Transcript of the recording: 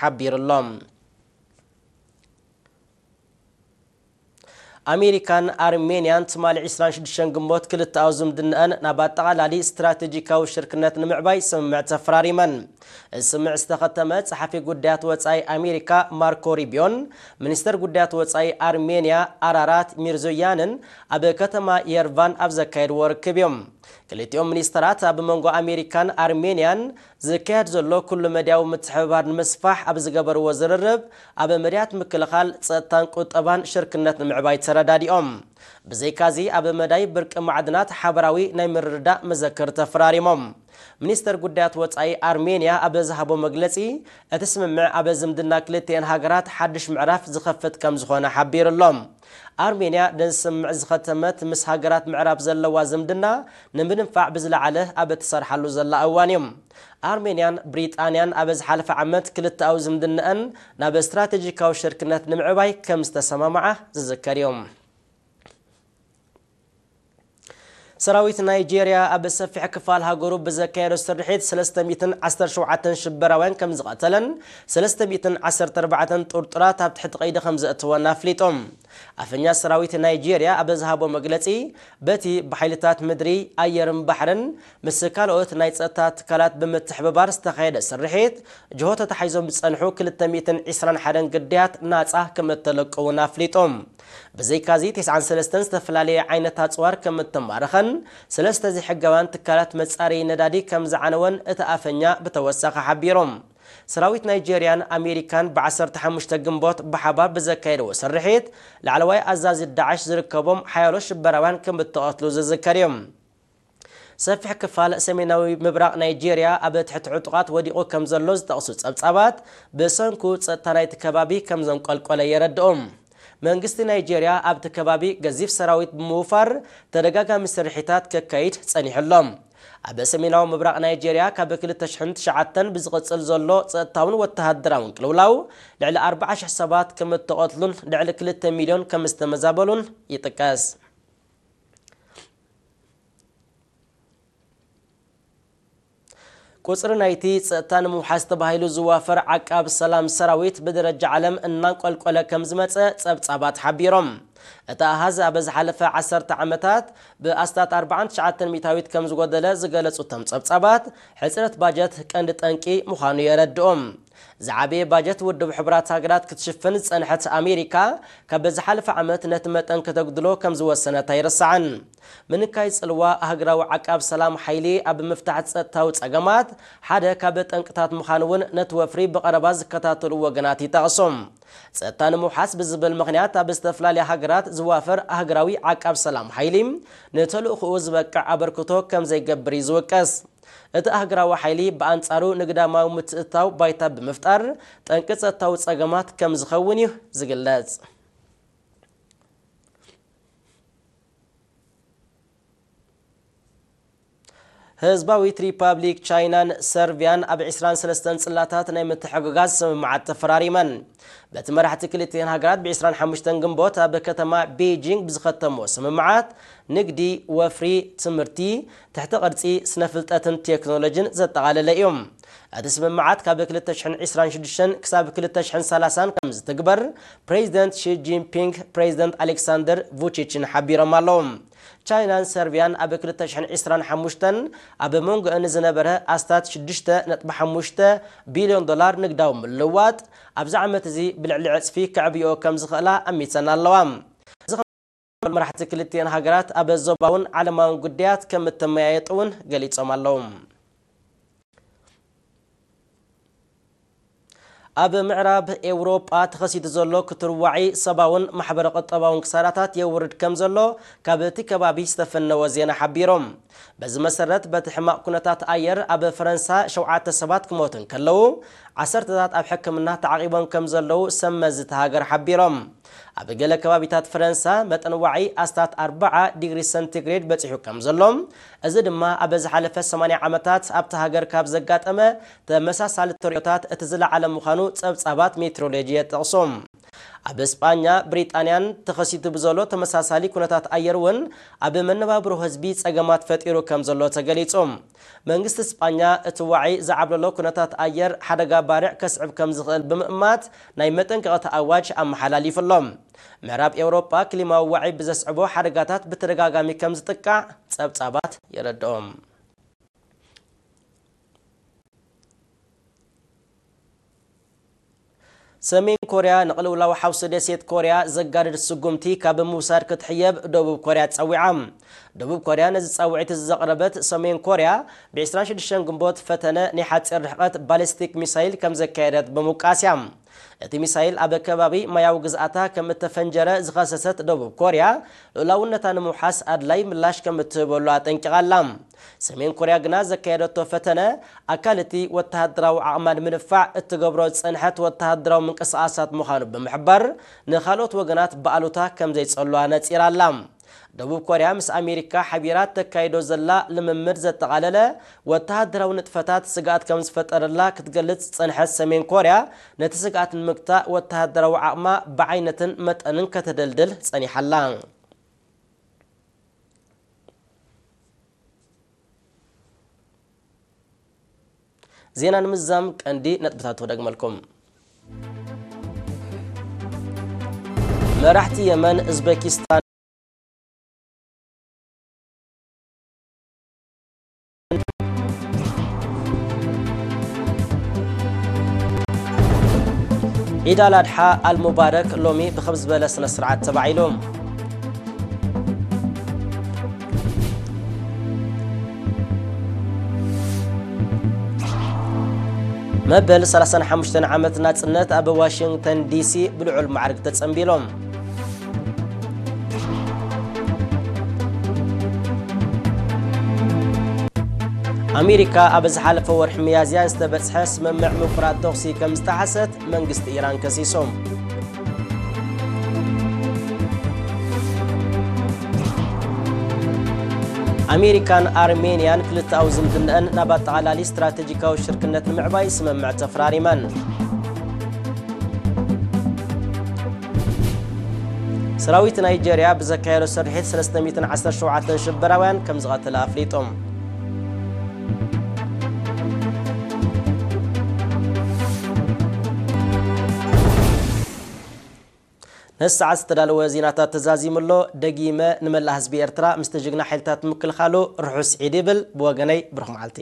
ሓቢሩ ኣሎ። ኣሜሪካን ኣርሜንያን ትማሊ ዕስራን ሽዱሽተን ግንቦት ክልተኣዊ ዝምድናኣን ናብ ኣጠቓላሊ ስትራቴጂካዊ ሽርክነት ንምዕባይ ስምምዕ ተፈራሪመን። እዚ ስምምዕ ዝተኸተመ ጸሓፊ ጉዳያት ወጻኢ ኣሜሪካ ማርኮ ሪቢዮን ሚኒስተር ጉዳያት ወጻኢ ኣርሜንያ ኣራራት ሚርዞያንን ኣብ ከተማ የርቫን ኣብ ዘካየድዎ ርክብ እዮም። ክልቲኦም ሚኒስተራት ኣብ መንጎ ኣሜሪካን ኣርሜንያን ዝካየድ ዘሎ ኩሉ መድያዊ ምትሕብባር ንምስፋሕ ኣብ ዝገበርዎ ዝርርብ፣ ኣብ መድያት ምክልኻል፣ ጸጥታን ቁጠባን ሽርክነት ንምዕባይ ተረዳዲኦም። ብዘይካዚ ኣብ መዳይ ብርቂ ማዕድናት ሓበራዊ ናይ ምርድዳእ መዘክር ተፈራሪሞም። ሚኒስተር ጉዳያት ወጻኢ ኣርሜንያ ኣብ ዝሃቦ መግለጺ፣ እቲ ስምምዕ ኣብ ዝምድና ክልቲኤን ሃገራት ሓድሽ ምዕራፍ ዝኸፍት ከም ዝኾነ ሓቢሩ ኣሎ። ኣርሜንያ ነዚ ስምምዕ ዝኸተመት ምስ ሃገራት ምዕራብ ዘለዋ ዝምድና ንምድንፋዕ ብዝለዓለ ኣብ እትሰርሓሉ ዘላ እዋን እዩ። ኣርሜንያን ብሪጣንያን ኣብ ዝሓለፈ ዓመት ክልተኣዊ ዝምድናኣን ናብ ስትራቴጂካዊ ሽርክነት ንምዕባይ ከም ዝተሰማምዓ ዝዝከር እዩ። ሰራዊት ናይጄርያ ኣብ ሰፊሕ ክፋል ሃገሩ ብዘካየዶ ስርሒት ሰለስተ ሚእትን ዓሰርተ ሸውዓተን ሽበራውያን ከም ዝቐተለን ሰለስተ ሚእትን ዓሰርተ ኣርባዕተን ጥርጡራት ኣብ ትሕቲ ቀይዲ ከም ዘእተወን ኣፍሊጦም። ኣፈኛ ሰራዊት ናይጄርያ ኣብ ዝሃቦ መግለጺ፣ በቲ ብሓይልታት ምድሪ፣ ኣየርን ባሕርን ምስ ካልኦት ናይ ጸጥታ ትካላት ብምትሕብባር ዝተኻየደ ስርሒት፣ ጅሆ ተታሒዞም ዝጸንሑ ክልተ ሚእትን ዕስራን ሓደን ግዳያት ናጻ ከም እተለቀዉን ኣፍሊጦም። ብዘይካዚ፣ ተስዓን ሰለስተን ዝተፈላለየ ዓይነት ኣጽዋር ከም እተማረኸን፣ ሰለስተ ዘይሕጋውያን ትካላት መጻረዪ ነዳዲ ከም ዝዓነወን እቲ ኣፈኛ ብተወሳኺ ሓቢሮም። ሰራዊት ናይጄርያን ኣሜሪካን ብዓሰርተ ሓሙሽተ ግንቦት ብሓባር ብዘካየድዎ ስርሒት፣ ላዕለዋይ ኣዛዚ ዳዕሽ ዝርከቦም ሓያሎ ሽበራውያን ከም እተቐትሉ ዝዝከር እዩ። ሰፊሕ ክፋል ሰሜናዊ ምብራቕ ናይጄርያ ኣብ ትሕቲ ዕጡቓት ወዲቑ ከም ዘሎ ዝጠቕሱ ጸብጻባት፣ ብሰንኩ ጸጥታ ናይቲ ከባቢ ከም ዘንቆልቆለ የረድኡ። መንግስቲ ናይጄርያ ኣብቲ ከባቢ ገዚፍ ሰራዊት ብምውፋር ተደጋጋሚ ስርሒታት ከካይድ ጸኒሑ ኣሎ። ኣብ ሰሜናዊ ምብራቕ ናይጄርያ ካብ ክልተ ሽሕን ትሽዓተን ብዝቕጽል ዘሎ ጸጥታውን ወተሃደራውን ቅልውላው ልዕሊ ኣርባዓ ሽሕ ሰባት ከም እተቐትሉን ልዕሊ ክልተ ሚልዮን ከም ዝተመዛበሉን ይጥቀስ። ቁጽሪ ናይቲ ጸጥታ ንምውሓስ ተባሂሉ ዝዋፈር ዓቃብ ሰላም ሰራዊት ብደረጃ ዓለም እናንቆልቆለ ከም ዝመጸ ጸብጻባት ሓቢሮም። እቲ ኣሃዝ ኣብ ዝሓለፈ ዓሰርተ ዓመታት ብኣስታት ኣርባዓን ትሽዓተን ሚእታዊት ከም ዝጎደለ ዝገለጹ እቶም ጸብጻባት፣ ሕጽረት ባጀት ቀንዲ ጠንቂ ምዃኑ የረድኡ። ዝዓበየ ባጀት ውድብ ሕቡራት ሃገራት ክትሽፍን ዝጸንሐት ኣሜሪካ፣ ካብ ዝሓለፈ ዓመት ነቲ መጠን ከተጉድሎ ከም ዝወሰነት ኣይርሳዕን። ምንካይ ጽልዋ ኣህግራዊ ዓቃብ ሰላም ሓይሊ ኣብ ምፍታሕ ጸጥታዊ ጸገማት ሓደ ካብ ጠንቅታት ምዃኑ እውን ነቲ ወፍሪ ብቐረባ ዝከታተሉ ወገናት ይጠቕሱ። ጸጥታ ንምውሓስ ብዝብል ምኽንያት ኣብ ዝተፈላለያ ሃገራት ዝዋፈር ኣህግራዊ ዓቃብ ሰላም ሓይሊ ንተልእኾኡ ዝበቅዕ ኣበርክቶ ከም ዘይገብር እዩ ዝውቀስ። እቲ ኣህግራዊ ሓይሊ ብኣንጻሩ ንግዳማዊ ምትእትታው ባይታ ብምፍጣር ጠንቂ ጸጥታዊ ጸገማት ከም ዝኸውን እዩ ዝግለጽ። ህዝባዊት ሪፓብሊክ ቻይናን ሰርቢያን ኣብ ዕስራን ሰለስተን ጽላታት ናይ ምትሕግጋዝ ስምምዓት ተፈራሪመን። በቲ መራሕቲ ክልቲኤን ሃገራት ብ ዕስራን ሓሙሽተን ግንቦት ኣብ ከተማ ቤጂንግ ብዝኸተምዎ ስምምዓት፣ ንግዲ፣ ወፍሪ፣ ትምህርቲ፣ ትሕቲ ቅርጺ፣ ስነ ፍልጠትን ቴክኖሎጂን ዘጠቓለለ እዩ። እቲ ስምምዓት ካብ ክልተ ሽሕን ዕስራን ሽዱሽተን ክሳብ ክልተ ሽሕን ሰላሳን ከም ዝትግበር ፕሬዚደንት ሺ ጂንፒንግ ፕሬዚደንት ኣሌክሳንደር vučić-ን ሓቢሮም ኣለዉ። ቻይናን ሰርቢያን ኣብ ክልተ ሽሕን ዕስራን ሓሙሽተን ኣብ መንጎአን ዝነበረ ኣስታት ሽዱሽተ ነጥቢ ሓሙሽተ ቢልዮን ዶላር ንግዳዊ ምልውዋጥ ኣብዚ ዓመት እዚ ብልዕሊ ዕጽፊ ከዕብይኦ ከም ዝኽእላ ኣሚተን ኣለዋ። እዚ መራሕቲ ክልቲኤን ሃገራት ኣብ ዞባውን ዓለማውን ጉዳያት ከም እተመያየጡ እውን ገሊጾም ኣለዉ። ኣብ ምዕራብ ኤውሮጳ ተኸሲቱ ዘሎ ክትርዋዒ ሰብኣውን ማሕበረ ቁጠባውን ክሳራታት የውርድ ከም ዘሎ ካብ እቲ ከባቢ ዝተፈነወ ዜና ሓቢሮም። በዚ መሰረት፣ በቲ ሕማቕ ኩነታት ኣየር ኣብ ፈረንሳ ሸውዓተ ሰባት ክሞቱ እንከለዉ፣ ዓሰርተታት ኣብ ሕክምና ተዓቒቦም ከም ዘለዉ ሰብ መዚ እታ ሃገር ሓቢሮም። ኣብ ገለ ከባቢታት ፈረንሳ መጠን ዋዒ ኣስታት ኣርባዓ ዲግሪ ሰንቲግሬድ በጺሑ ከም ዘሎ፣ እዚ ድማ ኣብ ዝሓለፈ ሰማንያ ዓመታት ኣብታ ሃገር ካብ ዘጋጠመ ተመሳሳሊ ተርእዮታት እቲ ዝለዓለ ምዃኑ ጸብጻባት ሜትሮሎጂ የጠቕሱ። ኣብ እስጳኛ፣ ብሪጣንያን ተኸሲቱ ብዘሎ ተመሳሳሊ ኩነታት ኣየር እውን ኣብ መነባብሮ ህዝቢ ጸገማት ፈጢሩ ከም ዘሎ ተገሊጹ። መንግስቲ እስጳኛ እቲ ዋዒ ዝዓብለሎ ኩነታት ኣየር ሓደጋ ባርዕ ከስዕብ ከም ዝኽእል ብምእማት ናይ መጠንቀቕታ ኣዋጅ ኣመሓላሊፉ ኣሎ። ምዕራብ ኤውሮጳ ክሊማዊ ዋዒ ብዘስዕቦ ሓደጋታት ብተደጋጋሚ ከም ዝጥቃዕ ጸብጻባት የረድኦም። ሰሜን ኮርያ ንቕልውላው ሓውሲ ደሴት ኮርያ ዘጋድድ ስጉምቲ ካብ ምውሳድ ክትሕየብ ደቡብ ኮርያ ጸዊዓ። ደቡብ ኮርያ ነዚ ጻውዒት ዘቕረበት፣ ሰሜን ኮርያ ብ ዕስራን ሽዱሽተን ግንቦት ፈተነ ናይ ሓጺር ርሕቀት ባሊስቲክ ሚሳይል ከም ዘካየደት ብምውቃስ እያ። እቲ ሚሳይል ኣብ ከባቢ ማያዊ ግዝኣታ ከም እተፈንጀረ ዝኸሰሰት ደቡብ ኮርያ፣ ልኡላውነታ ንምውሓስ ኣድላይ ምላሽ ከም እትህበሉ ኣጠንቂቓ ኣላ። ሰሜን ኮርያ ግና ዘካየደቶ ፈተነ፣ ኣካል እቲ ወተሃደራዊ ዓቕማ ንምድፋዕ እትገብሮ ዝጸንሐት ወተሃደራዊ ምንቅስቓሳት ምዃኑ ብምሕባር፣ ንኻልኦት ወገናት ብኣሉታ ከም ዘይጸልዋ ነጺራ ኣላ። ደቡብ ኮርያ ምስ ኣሜሪካ ሓቢራ ተካይዶ ዘላ ልምምድ ዘጠቓለለ ወተሃደራዊ ንጥፈታት ስግኣት ከም ዝፈጠረላ ክትገልጽ ዝጸንሐት ሰሜን ኮርያ፣ ነቲ ስግኣት ንምግታእ ወተሃደራዊ ዓቕማ ብዓይነትን መጠንን ከተደልድል ጸኒሓ ኣላ። ዜና ንምዝዛም ቀንዲ ነጥብታት ክደግመልኩም። መራሕቲ የመን፣ ኡዝቤኪስታን፣ ዒድ ኣል ኣድሓ ኣል ሙባረክ ሎሚ ብኸም ዝበለ ስነ ስርዓት ተባዒሉ። መበል ሰላሳን ሓሙሽተን ዓመት ናጽነት ኣብ ዋሽንግተን ዲሲ ብልዑል ማዕርግ ተጸንቢሎም። ኣሜሪካ ኣብ ዝሓለፈ ወርሒ ሚያዝያ ዝተበጽሐ ስምምዕ ምቁራጽ ተኹሲ ከም ዝጠሓሰት መንግስቲ ኢራን ከሲሶም። ኣሜሪካን ኣርሜንያን ክልተኣዊ ዝምድናኣን ናብ ኣጠቓላሊ ስትራቴጂካዊ ሽርክነት ንምዕባይ ስምምዕ ተፈራሪመን። ሰራዊት ናይጀርያ ብዘካየዶ ስርሒት ሰለስተ ሚእትን ዓሰርተ ሸውዓተን ሽበራውያን ከም ዝቐተለ ኣፍሊጦም። ነዚ ሰዓት ዝተዳለወ ዜናታት ተዛዚሙ ኣሎ። ደጊመ ንመላእ ህዝቢ ኤርትራ ምስቲ ጅግና ሓይልታት ምክልኻሉ ርሑስ ዒድ ይብል። ብወገነይ ብሩኽ መዓልቲ።